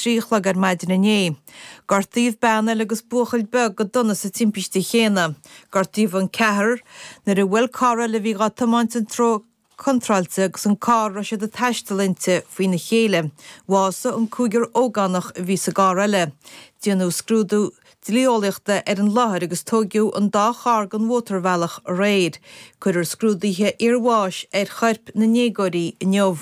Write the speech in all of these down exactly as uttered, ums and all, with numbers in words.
trí a chlog ar maidin inné. Gortaíodh bean eile agus buachaill beag go dona sa timpiste chéanna. Gortaíodh an ceathrar nuair a bhuail carr eile a bhí á tiomáint an treo contráilte agus an carr a raibh siad ag taisteal inti faoina chéile. Bhásaigh an cúigear ógánach a bhí sa gcarr eile. Déanadh scrúdú dlí-eolaíochta ar an láthair agus tóigeadh an dá charr den mhótarbhealach aréir. Cuirfear scrúduithe iarbháis ar choirp na ndéagóirí inniu.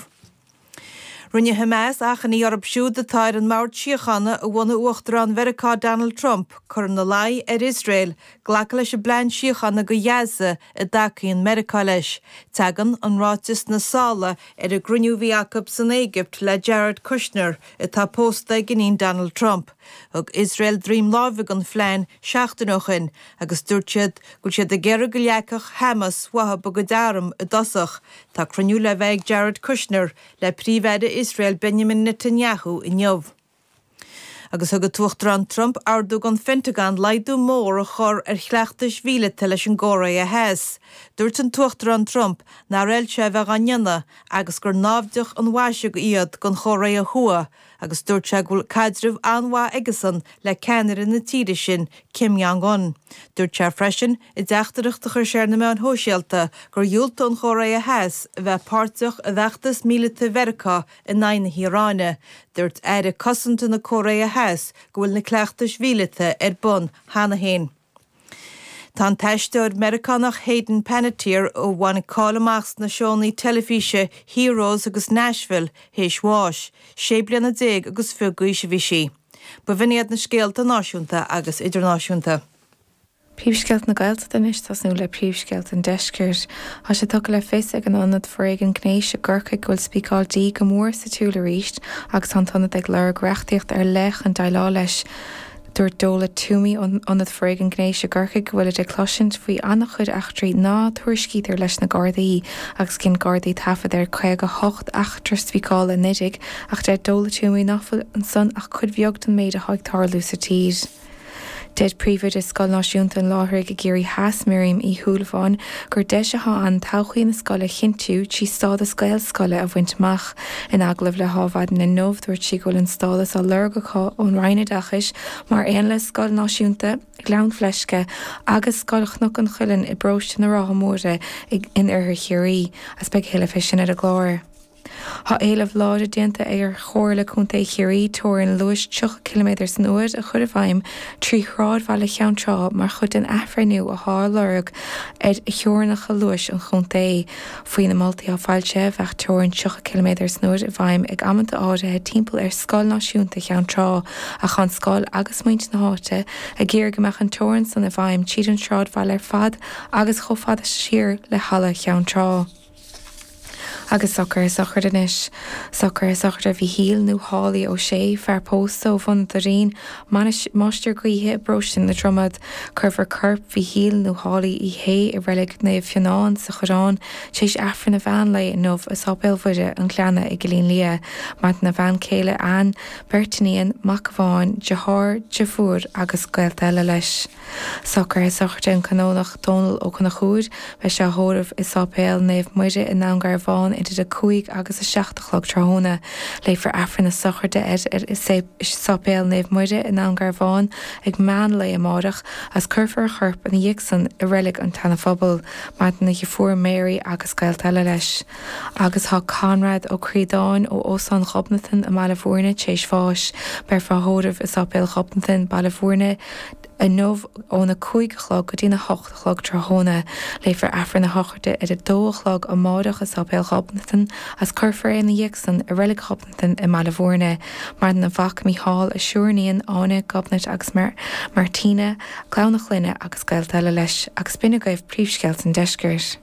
Rinne Hamas achainí orthu siúd atá ar an mbord síochána a bhunaigh Uachtarán Mheiriceá Donald Trump cur ina luí ar Iosrael glacadh leis an bplean síochána do Ghaza a dtacaíonn Meiriceá leis. Tagann an ráiteas sna sála ar an gcruinniú a bhí acu san Éigipt le Jared Kushner, atá pósta ag iníon Donald Trump. Thug Iosrael droim láimhe don phlean seachtain ó shin agus dúirt siad go bhfuil siad ag iarraidh go leagfadh Hamas uathu a gcuid arm i dtosach. Tá cruinniú le bheith ag Jared Kushner le Príomh-Aire Iosrael Benjamin Netanyahu inniu. Agus thug an tUachtarán Trump ordú don Phentagon laghdú mór a chur ar chleachtais mhíleata leis an gCóiré Theas. Dúirt an tUachtarán Trump nár fheil sé a bheith á ndéanamh agus gur naimhdeach an mhaise iad don Chóiré Thuaidh agus dúirt sé go bhfuil caidreamh an-mhaith aigesan le ceannaire na tíre sin, Kim Jong-un. Dúirt sé freisin i dteachtaireacht a chuir sé ar na meáin shóisialta gur dhiúltaigh an Chóiré Theas a bheith páirteach i bhfeachtas míleata Mheiriceá in aghaidh na hIaráine. Dúirt Aire Cosanta na Cóiré Theas go bhfuil na cleachtais mhíleata ar bun cheana féin. Tá an t-aisteoir Meiriceánach Hayden Panettiere a bhain cáil amach sna seónna teilifíse Heroes agus Nashville théis bháis, sé bliana déag agus fiche d'aois a bhí sí. B'in iad na scéalta náisiúnta agus idirnáisiúnta. Príomhscéalta na Gaeltachta anois tosnú le príomhscéalta an deiscirt. Tá sé tugtha le fios ag an Ionad Foréigin Gnéis i gCorcaigh go bhfuil spíceáil dí go mór sa tsiúl arís agus tá an t-ionad ag lorg reachtaíocht ar leith chun déileáil leis. Dúirt Dola Toomey ón Ionad Foréigin Gnéis i gCorcaigh go bhfuil ag cloisint faoi an-chuid eachtraí ná tuairiscítear leis na Gardaí agus dhein Gardaí taifead ar caoga hocht eachtra spíceála anuraidh ach deir Dola Toomey nach bhfuil ansan ach cuid bheag den méid atá ag tarlú sa tír. Deir príomhoide Scoil Náisiúnta an Láithrigh i gCiarraí Theas Miriam Uí Shúilleabháin gur deis atá ann todhchaí na scoile a chinntiú trí stádas Gaelscoile a bhaint amach. In agallamh le hAdhmhaidin inniu dúirt sí go bhfuil an stádas á lorg acu ón Roinn Oideachais mar aon le Scoil Náisiúnta Ghleann Fleisce agus Scoil Chnoc an Chuilinn i bparóiste na Rátha Móire in oirthear Chiarraí, agus beidh tuilleadh faoi sin ar an gclár. Tá éileamh láidir déanta ar Chomhairle Contae Chiarraí teorainn luais tríocha ciliméadar san uair a chur i bhfeidhm trí shráidbhaile Cheann Trá mar chuid den athbhreithniú atá á lorg ar theorainneacha luais an chontae. Faoi na moltaí atá foilsithe bheadh teorainn tríocha ciliméadar san uair i bhfeidhm ag amanta áirithe timpeall ar Scoil Náisiúnta Cheann Trá ach tá an scoil agus muintir na háite ag iarraidh go mbeadh an teorainn san i bhfeidhm tríd an sráidbhaile ar fad agus chomh fada siar le Halla Cheann Trá. Agus socruithe sochraide anois. Socruithe sochraide Mhíchíl nó Holly Ó Sé, fear pósta ó Bhun an Doirín, máistir gaoithe i bparóiste na Dromad. Cuirfear corp Mhíchíl nó Holly Uí Shé i reilig Naomh Fionán sa Choireán tar éis Aifreann an mheán lae inniu i Sáipéal Mhuire an Ghleanna i gCillín Liath. Maireann a bhean chéile Ann, beirt iníon, mac amháin, deartháir, deirfiúr agus gaolta eile leis. Socruithe sochraide an Canónach Dónal Ó Conchúir, beidh sé á thórramh i Sáipéal Naomh Muire i nDún Garbhán idir a cúig agus a seacht a chlog tráthnóna. Léifear Aifreann na sochraide air i Sáipéal Naomh Muire i nDún Garbhán ag meán lae amárach agus cuirfear a chorp ina dhiaidh san i reilig an tSeana-Phobail. Maireann a dheirfiúr Mary agus gaolta eile leis. Agus tá Conrad Ó Críodáin ó Óstán Ghobnatan i mBaile Bhúirne tar éis bháis. Beifear á thórramh i Sáipéal Ghobnatan, Baile Bhúirne, inniu óna cúig a chlog go dtína hocht a chlog tráthnóna. Léifear Aifreann na sochraide ar a dó a chlog amárach i Sáipéal Ghobnatan agus cuirfear é ina dhiaidh san i reilig Ghobnatan i mBaile Bhúirne. Maireann a mhac Mícheál, a triúr iníon, Áine, Gobnait agus Martina, clann a chlainne agus gaolta eile leis, agus b'in agaibh príomhscéalta an deiscirt.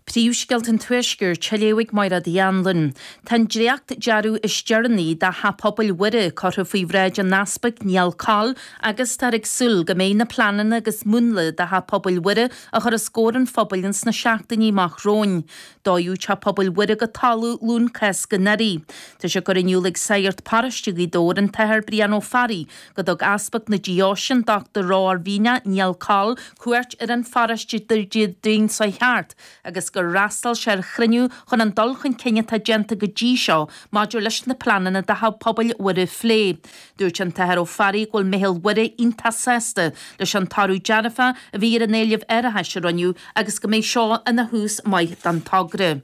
Príomhscéalta an Tuaiscirt, á léamh ag Máire Uí Anluain. Tá an dréacht-dearadh is deireanaí do Theach Pobail Mhuire curtha faoi bhráid an Easpaig Niall Coll agus táthar ag súil go mbeidh na pleananna agus múnla do Theach Pobail Mhuire á chur os comhair an phobail ins na seachtainí amach romhainn. Dódh Teach Pobail Mhuire go talamh Luan Cásca anuraidh. Tá sé curtha in iúl ag Sagart Paróiste Ghaoth Dobhair an tAthair Brian Ó Fearraigh go dtug Easpag na Deoise an Dochtúir Romhairmhíneach Niall Coll cuairt ar an pharóiste Déardaoin seo thart agus gur fhreastail sé ar chruinniú chun an dul chun cinn atá déanta go dtí seo maidir leis na pleananna do Theach Pobail Mhuire a phlé. Dúirt an tAthair Ó Fearraigh go bhfuil Meitheal Mhuire iontach sásta leis an toradh dearfach a bhí ar an éileamh árachais a rinneadh agus go mbeidh seo ina thús maith don togra.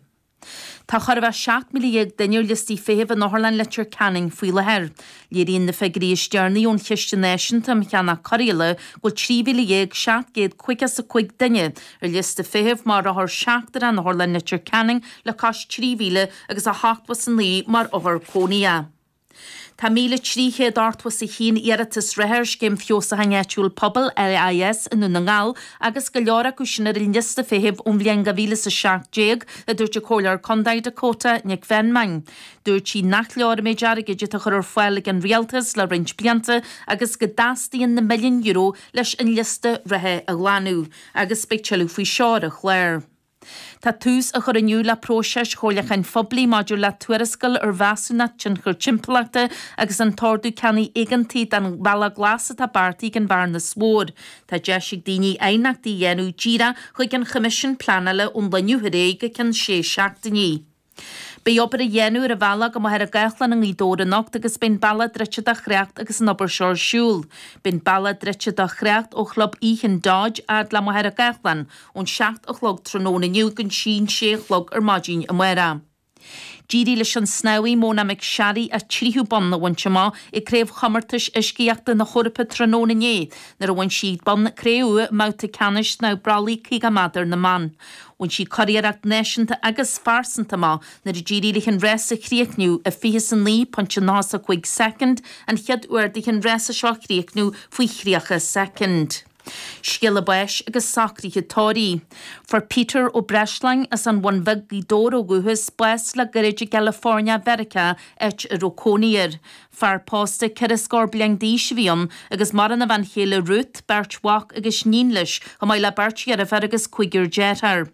Tá chóir a bheith seacht míle dhéag duine ar liostaí feithimh in Otharlann Leitir Ceanainn faoi láthair. Léiríonn na figiúirí is deireanaí ón Chiste Náisiúnta um Cheannach Cóireála go bhfuil trí mhíle dhéag seacht gcéad caoga is a cúig duine ar liosta feithimh mar othar seachtrach in Otharlann Leitir Ceanainn le cois trí mhíle agus a hochtó is a naoi mar othar cónaithe. Tá míle trí chéad ochtó is a haon iarratas reatha ar Scéim Feabhsúcháin Áitiúil Pobail, LIS, i nDún na nGall agus go leor acu sin ar an liosta feithimh ón bhliain dhá mhíle is a seacht déag, a dúirt an Comhairleoir Contae Dakota Nic Mheanman. Dúirt sí nach leor an méid airgid atá á chur ar fáil ag an Rialtas le roinnt blianta agus go dteastaíonn na milliúin euro leis an liosta reatha a ghlanadh agus beidh tuilleadh faoi seo ar an chlár. Tá tús á chur inniu le próiseas chomhairliúcháin phoiblí maidir le tuarascáil ar mheasúnacht tionchair timpeallachta agus an t-ordú ceannaigh éigeantaigh don Bhealach Glas atá beartaithe ag an Bhearnas Mhór. Tá deis ag daoine aighneachtaí a dhéanamh díreach chuig an Choimisiún Pleanála ón lá inniu ar aghaidh go ceann sé seachtainí. Beidh obair á dhéanamh ar an bhealach go Machaire Gathlán i nGaoth Dobhair anocht agus beidh an bealach druidte do thrácht agus an obair seo ar siúl. Beidh an bealach druidte do thrácht ó Chlub Ethan Dodge fhad le Machaire Gathlán ón seacht a chlog tráthnóna inniu go dtí an sé a chlog ar maidin amárach. D'éirigh leis an snámhaí Mona McSharry a tríú bonn a bhaint amach i gCraobhchomórtais Uiscíochta na hEorpa tráthnóna inné nuair a bhain sí bonn cré-umha i mbabhta ceannais snámh brollaigh caoga méadar na mban. Bhain sí curiarracht náisiúnta agus phearsanta amach nuair a d'éirigh léi an rás a chríochnú i fiche is a naoi pointe nócha a cúig soicind, an chéad uair di an rása seo a chríochnú faoi thríocha soicind. Scéala báis agus socruithe tórraimh. Fuair Peter Ó Breisleáin as an Bhun Bheag, Gaoth Dobhair ó dhúchas, bás le gairid i gCalifornia Mheiriceá, áit a raibh cónaí air. Fear pósta ceithre scór bliain d'aois a bhí ann agus maireann a bhean chéile Ruth, beirt mhac agus iníon leis, chomh maith le beirt dheirféar agus cúigear dearthár.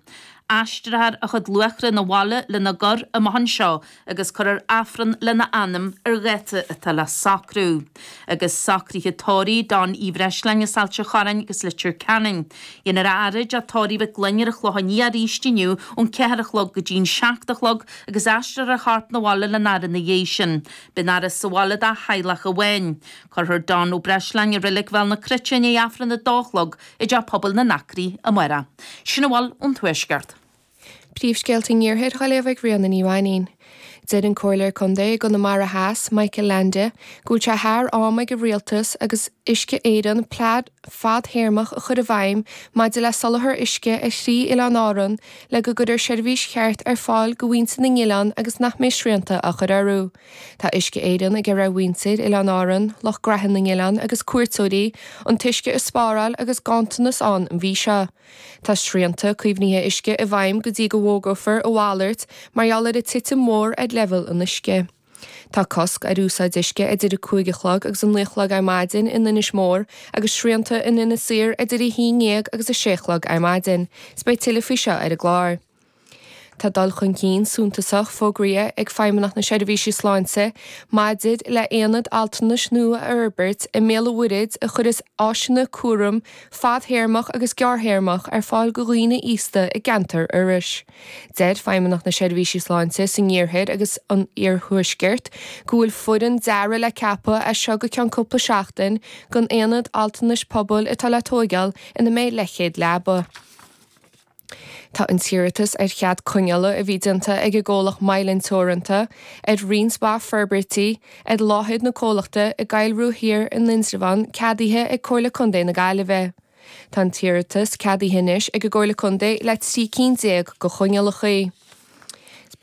Aistreofar a chuid luachra 'na bhaile lena gcur amach anseo agus cuirfear Aifreann lena anam ar dháta atá le socrú. Agus socruithe tórraimh Don Uí Bhreisleáin as Ailt an Chorráin agus Leitir Ceanainn. Dhéanfar a fhaire i dteach tórraimh Mhic Gloinn ar an Chlochán Liath arís inniu ón ceathair a chlog go dtí'n seacht a chlog agus aistreofar a chorp 'na bhaile lena fhaire ina dhiaidh sin. Beidh an fhaire sa bhaile dá theaghlach amháin. Cuirfear Don Ó Breisleáin i Reilig Bhéal na Cruite i ndiaidh Aifreann a dó a chlog i dTeach Pobail na nAcraí amárach. Sin a bhfuil ón Tuaisceart. Príomhscéalta an Iarthair á léamh ag Ríona Ní Mhainín. Deir an Comhairleoir Contae i gConamara Theas, Michael Leainde, go bhfuil sé thar am ag an Rialtas agus Uisce Éireann plean fadthéarmach a chur i bhfeidhm maidir le soláthar uisce ar thrí oileán Árann le go gcuirfear seirbhís cheart ar fáil do mhuintir na n-oileán agus nach mbeidh srianta á chur orthu. Tá Uisce Éireann ag iarraidh ar mhuintir Oileáin Árann, lucht graithe na n-oileán agus cuairteoirí an t-uisce a spáráil agus ganntanas ann an mhí seo. Tá srianta caomhnaithe uisce i bhfeidhm go dtí go bhfógrófar a mhalairt mar gheall ar an titim mhór ar leibhéal an uisce. Tá cosc ar úsáid uisce idir a cúig a chlog agus a naoi a chlog ar maidin in Inis Mór agus srianta in Inis Oírr idir a haon déag agus a sé a chlog ar maidin. 'S beidh tuilleadh faoi seo ar an gclár. Tá dul chun cinn suntasach fógraithe ag Feidhmeannacht na Seirbhíse Sláinte maidir le haonad altranais nua a fhorbairt i mBéal an Mhuirthead a chuirfeas áiseanna cúraim fadthéarmach agus gearrthéarmach ar fáil do dhaoine aosta i gceantar Iorrais. Deir Feidhmeannacht na Seirbhíse Sláinte san Iarthar agus an Iarthuaisceart go bhfuil foireann dearaidh le ceapadh as seo go ceann cúpla seachtain don aonad altranais pobail atá le tóigeáil ina mbeidh leathchéad leaba. Tá an t-iarratas ar chead coinneála a bhí déanta ag an gcomhlacht Mylan Teoranta ar roinnt mhaith forbairtí ar láthair na comhlachta i gCoill Rua Thiar in Indreabhán ceadaithe ag Comhairle Contae na Gaillimhe. Tá an t-iarratas ceadaithe anois ag an gComhairle Contae le trí cinn déag de choinníollacha.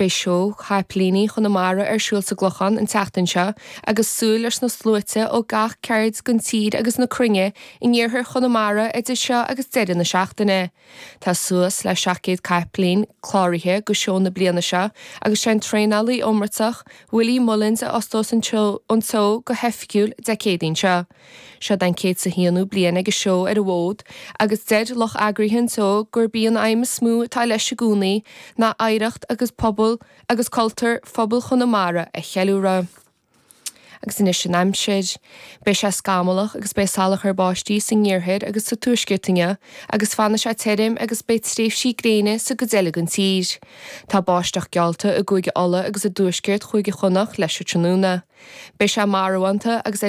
Beidh seó Chapaillíní Chonamara ar siúl sa gClochán an tseachtain seo agus súil leis na sluaite ó gach ceard den tír agus na cruinne in iarthar Chonamara idir seo agus deireadh na seachtaine. Tá suas le seacht gcéad capaillín cláraithe do seó na bliana seo agus sé an traenálaí iomráiteach Willie Mullins a osclós an seó go hoifigiúil Dé Céadaoin seo. Seo an céad is a haonú bliain ag an seó ar an bhfód agus deir lucht eagraithe an tseó gurb í an aidhm is mó atá leis i gcónaí ná oidhreacht agus pobal agus cultúr phobal Chonamara a cheiliúradh. Agus anois an aimsir. Beidh sé scamallach agus beidh salachar báistí san iarthar agus sa tuaisceart inniu agus fanfaidh sé tirim agus beidh tréimhsí gréine sa gcuid eile den tír. Tá báisteach geallta i gCúige Uladh agus i dtuaisceart Chúige Chonnacht leis an tráthnóna. Beidh sé marbhánta agus